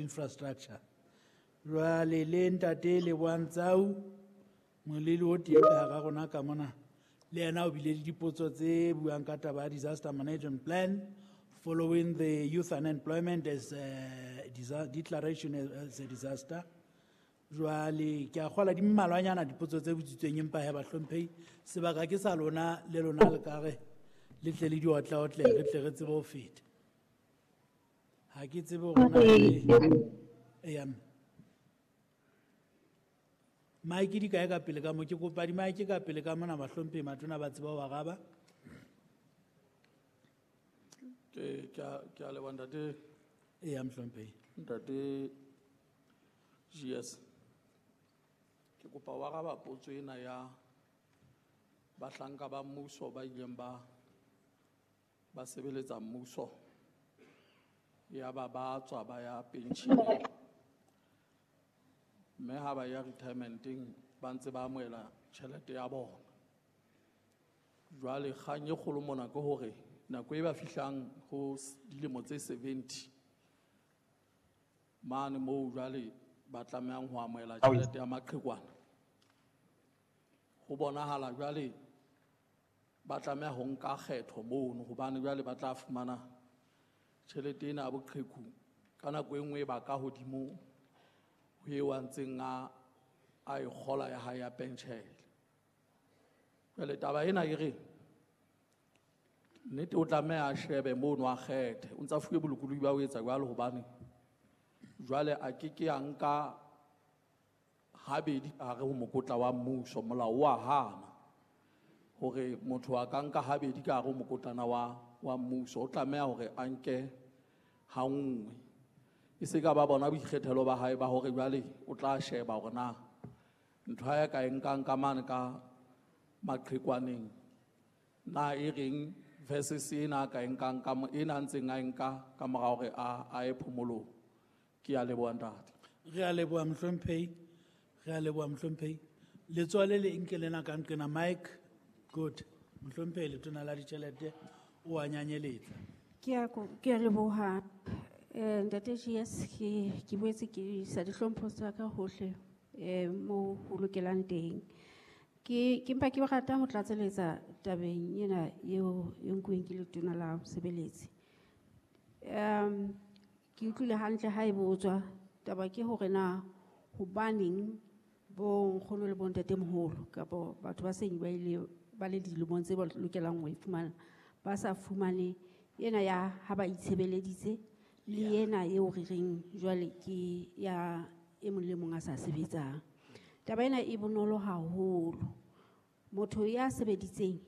Infrastructure. Jwale le ntate Lebohang Tsau, moleli o teng ka hara rona ka mona, le yena o bile le dipotso tse buang ka taba ya disaster management plan following the youth unemployment as declaration as a disaster. Jwale ke a kgola di mmalwanyana dipotso tse botsitsweng, empa he bahlomphehi, sebaka ke sa lona le lona le ka re le tle le di otlaotle, re tle re tsebe ho feta. Ha ke tsebe hore na le eya mme. Mike di kae ka pele ka mo? Ke kopa di mike ka pele ka mona, bahlomphehi matona ba tsebe ho araba. Ke a leboha ntate. Eya mohlomphehi. Ntate GS. Ke kopa ho araba potso ena ya bahlanka ba mmuso ba ileng ba sebeletsa mmuso, ya ba ba tswa ba ya pension, mme ha ba ya retirementeng ba ntse ba amohela tjhelete ya bona. Jwale kgang e kgolo mona ke hore nako e ba fihlang ho dilemo tse 70 mane moo jwale ba tlamehang ho amohela tjhelete ya maqhekwana, ho bonahala jwale ba tlameha ho nka kgetho mono, hobane jwale ba tla fumana tjhelete ena ya boqheku ka nako e nngwe e ba ka hodimo ho eo a ntseng a e kgola ya hae ya penshele. Jwale taba ena e re nnete o tlameha a shebe mono a kgethe, o ntsa fuwe bolokolohi ba ho etsa jwalo, hobane jwale a ke ke a nka habedi ka hare ho mokotla wa mmuso. Molao wa hana hore motho a ka nka habedi ka hare ho mokotlana wa mmuso, o tlameha hore a nke ha nngwe. E se ka ba bona boikgethelo ba hae ba hore jwale o tla sheba hore na ntho ya ka e nkang ka mane ka maqhekwaneng na e reng versus ena a ka e nkang ka ena a ntseng a e nka ka mora hore a ye phomolong. Ke a leboha ntate. Re a leboha mohlomphehi, re a leboha mohlomphehi. Letsoho le le nke lena ka nqena mic. Good. Mohlomphehi letona la ditjhelete o a nyanyeletsa. Ke a leboha. Ntate GS, ke boetse ke isa dihlompho tsa ka hohle, moo ho lokelang teng. Ke mpa ke rata ho tlatseletsa tabeng ena eo e nkuweng ke letona la bosebeletsi. Ke utlwile hantle ha e botswa, taba ke hore na hobaneng bo nkgono le bo ntatemoholo kapa batho ba seng ba ile ba le dilemong tse ba lokelang ho e fumana, ba sa fumane ena ya ha ba itshebeleditse le ena eo re reng jwale ke ya e mong le mong a sa sebetsang. Taba ena e bonolo haholo. Motho ya sebeditseng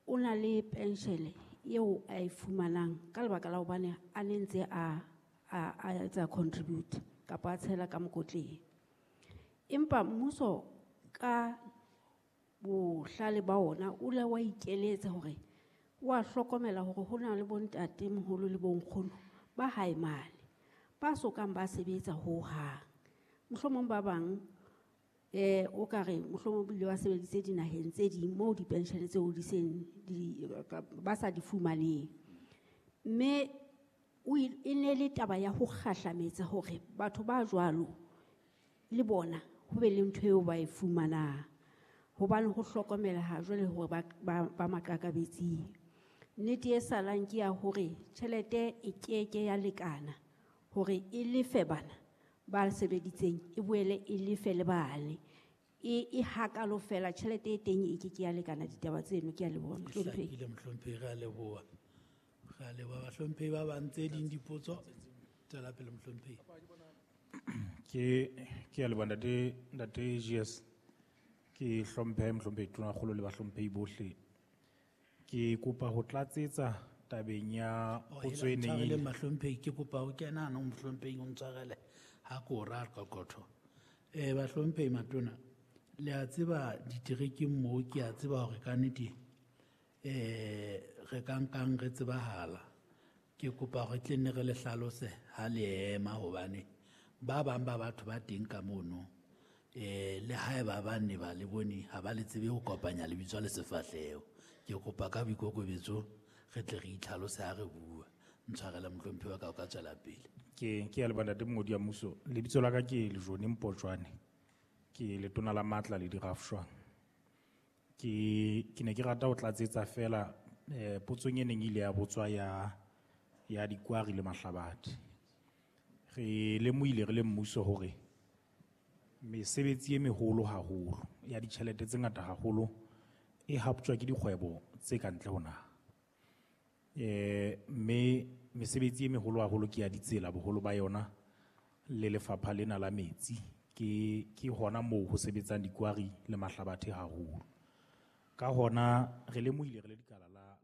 o na le penshele eo a e fumanang ka lebaka la hobane a ne ntse a etsa contribute kapa a tshela ka mokotleng. Empa mmuso ka bohlale ba ona o la wa ikeletsa hore wa hlokomela hore ho na le bontatemoholo le bonkgono ba hae mane ba sokang ba sebetsa hohang. Mohlomong ba bang, o ka re mohlomong bile ba sebeditse dinaheng tse ding moo dipenshene tseo di seng di, ba sa di fumaneng. Mme e ne le taba ya ho kgahlametsa hore batho ba jwalo le bona ho be le ntho eo ba e fumanang, hobane ho hlokomela ha jwale hore ba maqakabetsing. Nnete e salang ke ya hore tjhelete e keke ya lekana hore e lefe bana ba sebeditseng, e boele e lefe le bane. E hakalo fela, tjhelete e teng e keke ya lekana ditaba tseno. Ke a leboha, mohlomphehi. Hlakile, mohlomphehi, re a leboha. Re a leboha bahlomphehi ba bang. Tse ding dipotso, tswela pele mohlomphehi. Ke a leboha ntate GS. Ke hlomphe mohlomphehi Tonakgolo le bahlomphehi bohle. Ke kopa ho tlatsetsa tabeng ya Oh, potso e hela, neng e ntshwarele le bahlomphehi, ke kopa ho kena hanong mohlomphehi o ntshwarele ha ke o raya qoqotho. Bahlomphehi matona, le a tseba diterekeng moo, ke a tseba hore ka nnete, re ka nkang re tsebahala. Ke kopa hore tle nne re le hlalose ha le ema, hobane ba bang ba batho ba teng ka mono, le haeba ba ne ba le bone, ha ba le tsebe ho kopanya lebitso le sefahleho. Ke kopa ka boikokobetso re tle re itlhalose ha re bua. Ntshwarele mohlomphehi wa ka, o ka tswela pele. Ke ya leboha ntate mongodi wa mmuso. Lebitso la ka ke Lejone Mpotjwane. Ke letona la matla le dirafshwang. Ke ne ke rata ho tlatsetsa fela potsong e neng ile ya botswa ya dikwari le mahlabathe. Re lemohile re le mmuso hore mesebetsi e meholo haholo ya ditjhelete tse ngata haholo e haptjwa ke dikgwebo tse ka ntle ho naha. Mme mesebetsi e meholo haholo ke ya ditsela boholo ba yona le lefapha lena la metsi ke hona moo ho sebetsang dikwari le mahlabathe haholo. Ka hona re lemohile re le dikala la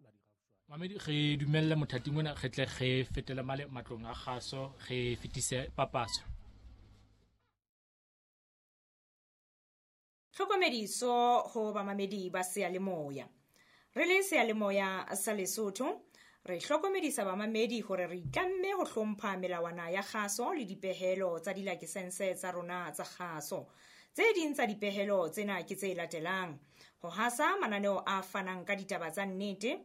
Mamedi re dumelle mothating ona re tle re fetele male matlong a kgaso re fetise papatso. Tlhokomediso ho bamamedi ba seyalemoya. Re le seyalemoya sa Lesotho, re hlokomedisa bamamedi hore re itlamme ho hlompha melawana ya kgaso le dipehelo tsa dilakesense tsa rona tsa kgaso. Tse ding tsa dipehelo tsena ke tse latelang: ho hasa mananeo a fanang ka ditaba tsa nnete,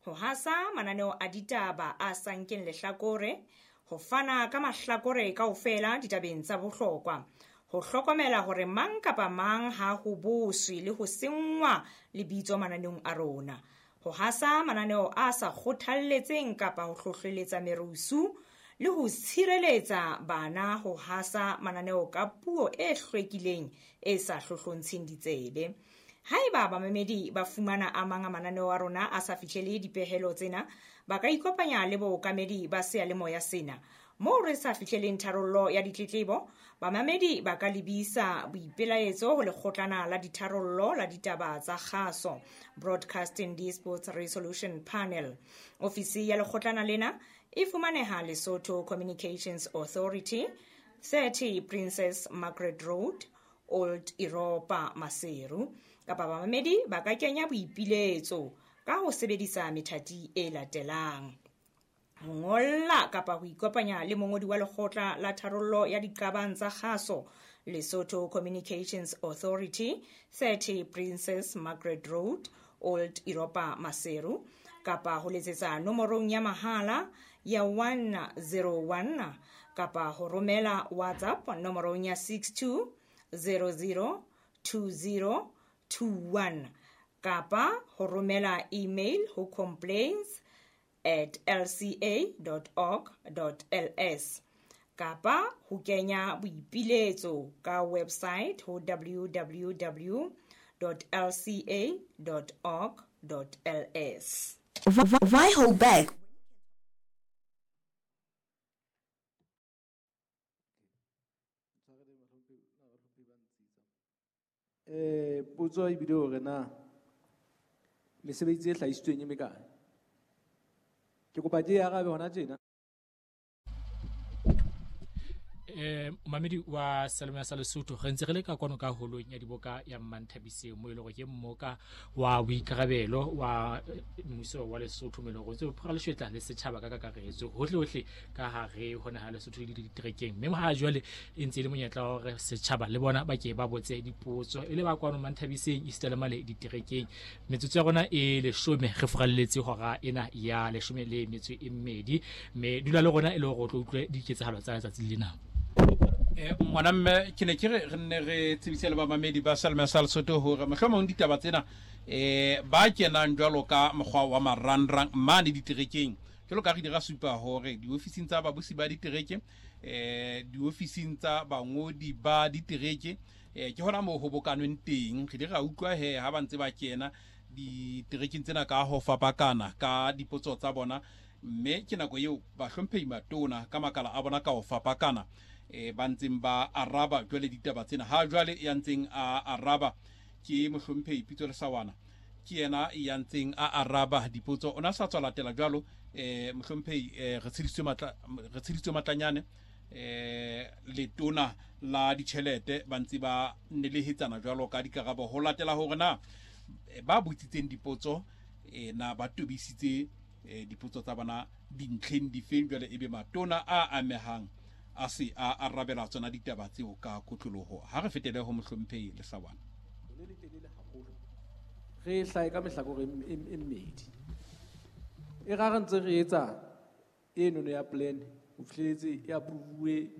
ho hasa mananeo a ditaba a sa nkeng lehlakore, ho fana ka mahlakore kaofela ditabeng tsa bohlokwa, ho hlokomela hore mang kapa mang ha ho boswe le ho senngwa lebitso mananeong a rona, ho hasa mananeo a sa kgothalletseng kapa ho hlohleletsa merusu le ho tshireletsa bana ho hasa mananeo ka puo e hlwekileng e sa hlohlontsheng ditsebe. Haeba bamamedi ba fumana a mang a mananeo a rona a sa fihlele dipehelo tsena, ba ka ikopanya le bookamedi ba seyalemoya sena. Moo re sa fihleleng tharollo ya ditletlebo, bamamedi ba ka lebisa boipelaetso ho lekgotlana la ditharollo la ditaba tsa kgaso, Broadcasting Disputes Resolution Panel. Ofisi ya lekgotlana lena e fumaneha Lesotho Communications Authority, 30 Princess Margaret Road, Old Europa, Maseru. Kapa bamamedi ba ka kenya boipiletso ka ho sebedisa methati e latelang: ho ngolla kapa ho ikopanya le mongodi wa lekgotla la tharollo ya diqabang tsa kgaso, Lesotho Communications Authority, 30 Princess Margaret Road, Old Europa, Maseru, kapa ho letsetsa nomorong ya mahala ya 101 kapa ho romela WhatsApp nomorong ya 62002021 kapa ho romela email ho complaints@lca.org.ls kapa ho kenya boipiletso ka website ho www.lca.org.ls. Why hold back? Potso e bile hore na mesebetsi e hlahisitsweng e mekae. Ke kopa ke e arabe hona tjena. Mamedi wa Seyalemoya sa Lesotho, re ntse re le ka kwano ka holong ya diboka ya Mmanthabiseng, mo e leng hore ke mmoka wa boikarabelo wa mmuso wa Lesotho, mo e leng hore ntse o phara leshwetla le setjhaba ka kakaretso hohle hohle ka hare ho naha Lesotho le diterekeng. Mme ha jwale e ntse e le monyetla wa hore setjhaba le bona ba ke ba botse dipotso e le ba kwano Mmanthabiseng esita le male diterekeng. Metsotso ya rona e 10, re furalletse hora ena ya 12, mme dula le rona e le hore o tlo utlwe diketsahalo tsa letsatsi lena. Ngwana mme ke ne ke re re nne re tsebise le bamamedi ba Seyalemoya sa Lesotho hore mohlomong ditaba tsena ba kenang jwalo ka mokgwa wa marangrang mane diterekeng, jwalo ka re di ra supa hore diofising tsa babusi ba ditereke, diofising tsa bangodi ba ditereke, ke hona moo ho bokanweng teng. Re di ra utlwa he ha ba ntse ba kena diterekeng tsena ka ho fapakana ka dipotso tsa bona, mme ke nako eo bahlomphehi matona ka makala a bona ka ho fapakana ba ntseng ba araba jwale ditaba tsena. Ha jwale ya ntseng a araba ke mohlomphehi Pitso Lesawana, ke yena ya ntseng a araba dipotso. O na sa tswa latela jwalo mohlomphehi re tshedisitswe matlanyane letona la ditjhelete ba ntse ba nelehetsana jwalo ka dikarabo ho latela hore na ba botsitseng dipotso na ba tobisitse dipotso tsa bona dintlheng difeng. Jwale ebe matona a amehang a se a arabela tsona ditaba tseo ka kotloloho. Ha re fetele ho mohlomphehi Lesawana. Le letelele haholo. Re hlahe ka mehlakore e mmedi. E ra re ntse re etsa enono ya plan O fihleletse e approve.